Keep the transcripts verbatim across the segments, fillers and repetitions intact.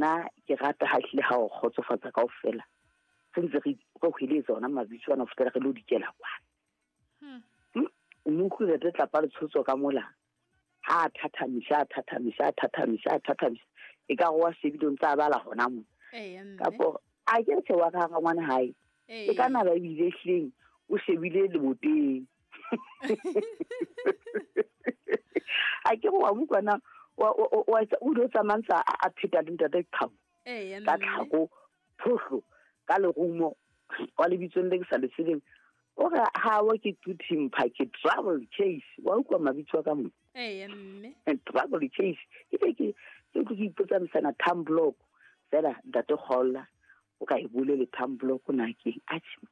Nna ke rata ha hlile ha o kgotsofatsa kaofela. Re ntse re re hweletsa ona mabitso ana ho fihlela re lo dikela kwana. Hmm. Hmm, o mo utlwile re tlapa le tshotso ka mola. Ha a thathamisa, a thathamisa, a thathamisa, a thathamisa. E ka re wa shebile o ntse a bala hona moo. Eya, mme. Kapo a ke re tjhe wa ka hara ngwana hae. Ee. E ka na ba ebile hleng o shebile leboteng. A ke re wa mo utlwa na, wa, wa, wa, wa etsa, o ile o tsamaya ntse a, a pheta le ntate Qhau. Eya, Ka mme. tlhako, phohlo, ka lerumo, wa lebitsong le ke sa le tsebeng. O re ha wa ke Tuthimpa, ke Trouble Chase. Wa utlwa mabitso a ka mo? Eya, mme. Trouble Chase. E be ke, ke utlwe ke ipotsa msana thumb block. Fela ntate Kgolla, o ka e bolele thumb block na keng? Atjhe,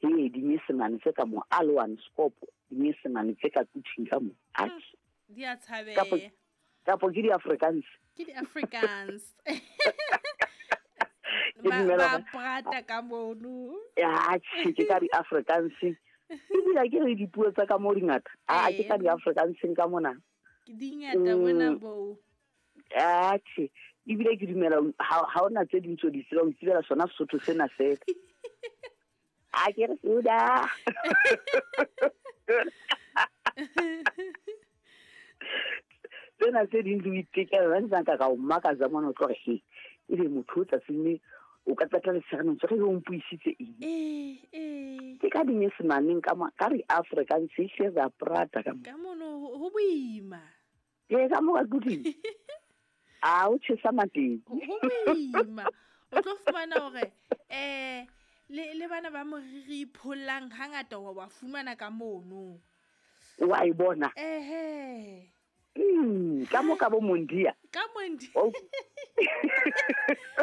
he, dinyesemane tse ka mo, Alwan Scope, dinyesemane tse ka kuthing ka mo. Atjhe. Hmm, di a tshabeha. Kapo, kapo ke di-Afrikaans. Ke di-Afrikaans. Ke Ba, dumela ba hore prata ka mono. Ya, atjhe, ke ka di-Afrikaans. Ebile ke re dipuo tsa ka mo di ngata. Ah, ke ka Ee. di-Afrikaans ka mona. Ke di ngata mona Mm. bo. Atjhe, ebile ke dumela ha, ha hona tse ding tseo di tsebang, o itsebela sona Sesotho sena feela. A ke re suda. Tsena tse ding di o itekela, ba ntse nka ka o makatsa mona, o tlo re, he, ebe motho o tsatsing le o ka qeta letshehare ntse re o mpuisitse eng? Eh, eh. Ke ka dinyesemaneng ka mo, ka re Afrikaans e hle ra prata ka mo. Ka mono ho, ho boima. Ee, ka mo ka kuting. A o tjhesa mateng. Ho, ho boima. O tlo fumana hore, eh, le, le bana ba moriri phollang hangata wa ba fumana ka mono. Wa e bona? Ehe. Mm, ka mo ka bo Mondia. Ka Mondia. O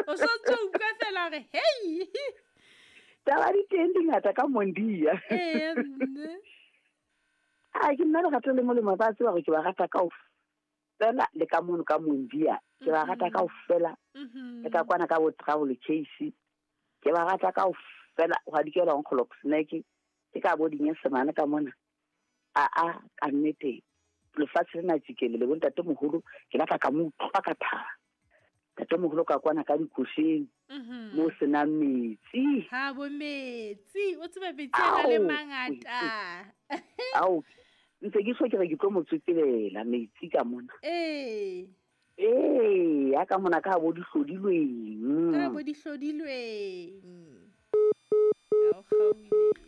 O so ntso utlwa fela hore, hey. Taba di teng di ngata ka Mondia. Ee, mme. A ke nna lerato le molemo, ba tseba hore ke ba rata kaofela le ka mono ka Mondia. Ke ba rata Mhm. kaofela. Mhm. Le ka kwana ka bo Travel Case. Ke ba rata kaofela, hwa dikela Nkgolok Snack. Ke ka bo dinyesemane ka mona. A, a, ka nnete, lefatshe lena tjikele le bontatemoholo, ke batla ka mo utlwa ka thaba. Ntatemoholo ka kwana ka dikosheng, Mhm. mo senang metsi. Ha bo metsi, o tseba metsi a na le Ao, mangata. Ao, ntse ke so ke re ke tlo mo tsotselela metsi ka mona. Ee. Ee, ya ka mona ka bo dihlodilweng. Ka bo dihlodilweng. Ha o kgaohile.